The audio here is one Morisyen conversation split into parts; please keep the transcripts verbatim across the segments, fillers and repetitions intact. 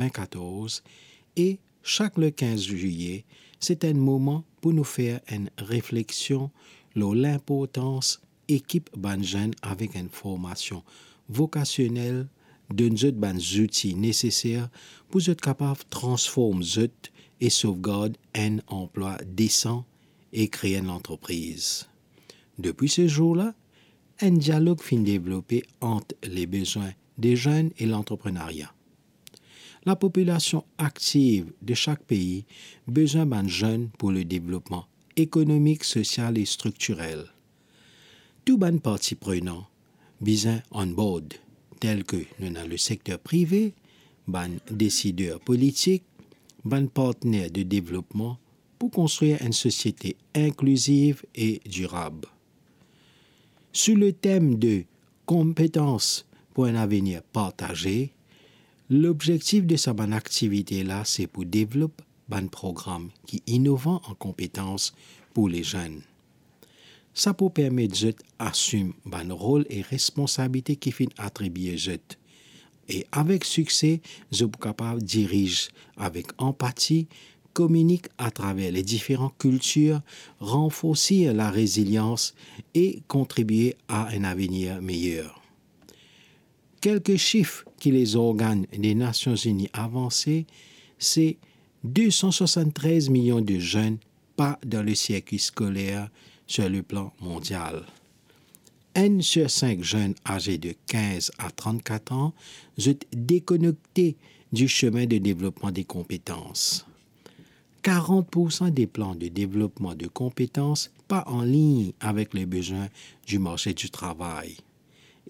vin katorz, e chak le kinz zilye, se enn moman pou nou fer enn refleksion lor linportans ekip bann zenn avek enn formasion vokasionel, donn zot bann zouti neseser pou zot kapav transform zot e sovgard enn anplwa desan e kree enn lantrepriz. Depi se zour la, enn dialog finn devlope ant le bezwin de zenn e lantreprenaria. Lapopilasion aktiv de sak pei bezwin bann zenn pou le devlopman ekonomik, sosial e striktirel. Tou bann parti prenan bizin on board, tel ke nou ena le sekter prive, bann desider politik, bann partner de devlopman pou konstrir enn sosiete inkliziv e dirab. Sou le tem de konpetans pou enn avenir partaze, lobzektif de sa bann aktivite la se pou devlop bann program ki inovan an konpetans pou le zenn. Sa pou permet zot asim bann rol e responsabilite ki finn atribie zot. E avek sikse, zot pou kapav diriz avek anpati, kominik atraver le diferan kiltir, ranforsir larezilians e kontribie a enn avenir meyer. Kelke sif ki lezorgann de Nasion Zini avanse, se de san swasanntrez milion de zenn pa dan le sirkwi skoler sur le plan mondial. Enn sir sink zenn aze de kinz a trannkat an, zot dekonekte di semin de devlopman de konpetans. Karant poursan de plan de devlopman de konpetans pa anlign avek le bezwin di marse di travay.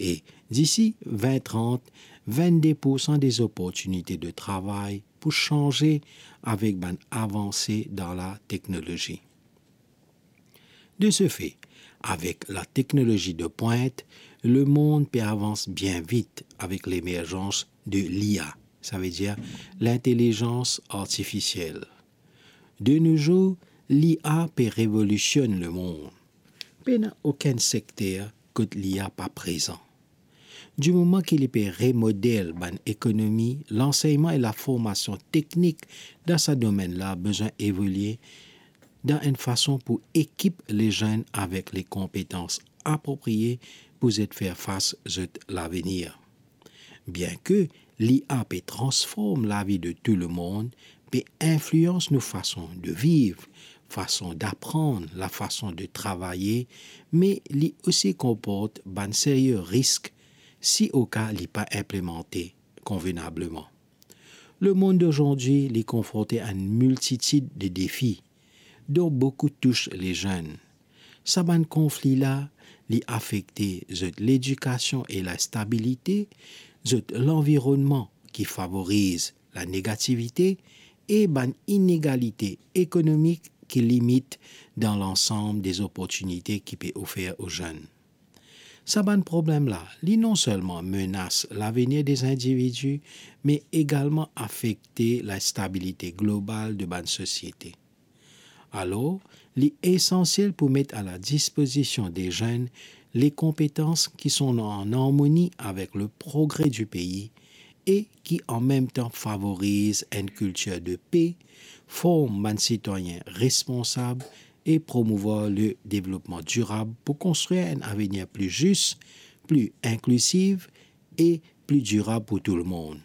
E disi vin trant, vinn-de poursan de zoportinite de travay pou sanze avek bann avanse dan lateknolozi. De se fe, avek lateknolozi de pwint, lemond pe avans bien vit avek lemerzans de l'I A, savedir lintelizans artifisiel. De no zour, l'I A pe revolisionn lemond. Pena okenn sekter kot l'I A pa prezan. Di moman ki li pe remodel bann ekonomi, lansegnman e laformasion teknik dan sa domenn la bizin evolie dan enn fason pou ekip lezenn avek le konpetans aproprie pou zot fer fas zot lavenir. Bien ke l'I A pe transform lavi de tou lemond, pe inflians nou fason de viv, fason daprann, lafason de travaye, me li osi konport bann serye risk si oka li pa inplemante konvenableman. Lemond dozordi li konfronte a enn miltitid de defi, dont boukou tous lezenn. Sa bann konfli la, li afekte zot ledikasion e lastabilite, zot lanvironnman ki favoriz lanegativite e bann inegalite ekonomik ki limit dan lansam de zoportinite ki pe ofer o zenn. Sa bann problem la, li non selman menas lavenir de zindividi, me egalman afekte lastabilite global de bann sosiete. Alor, li esansiel pou met a ladispozision de zenn le konpetans ki sont an armoni avek le progre di pei e ki an mem tan favoriz enn kiltir de pe, form bann sitwayin responsab e promouvwar le devlopman dirab pou konstrir enn avenir pli zis, pli inklizif e pli dirab pou tou lemond.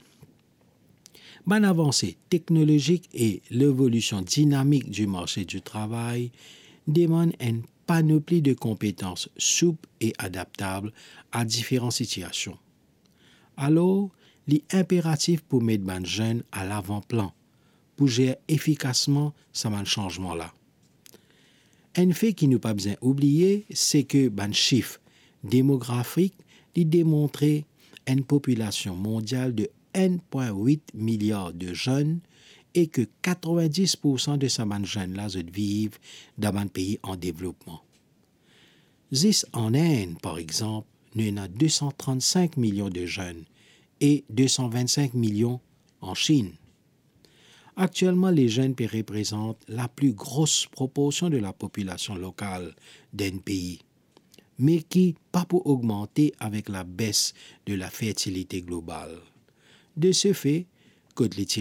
Bann avanse teknolozik e levolision dinamik di marse di travay demann enn panopli de konpetans soup e adaptab a diferan sitiasion. Alor, li inperatif pou met bann zenn a lavan plan pou zer efikasman sa bann sanzman la. Enn fe ki nou pa bizin oubliye, se ke bann sif demografik, li demontre enn popilasion mondial de enn pwin wit miliar de zenn e ke katrovin-dis poursan de sa bann zenn la, zot viv dan bann pei an devlopman. Zis an Inn, par exanp, nou ena de san trant-sink milion de zenn e de san vinn-sink milion an Sinn. Aktielman, lezenn pe reprezant lapli gros proporsion de lapopilasion lokal d'enn pei, me ki pa pou ogmante avek labes de lafertilite global. De se fe, kot li ti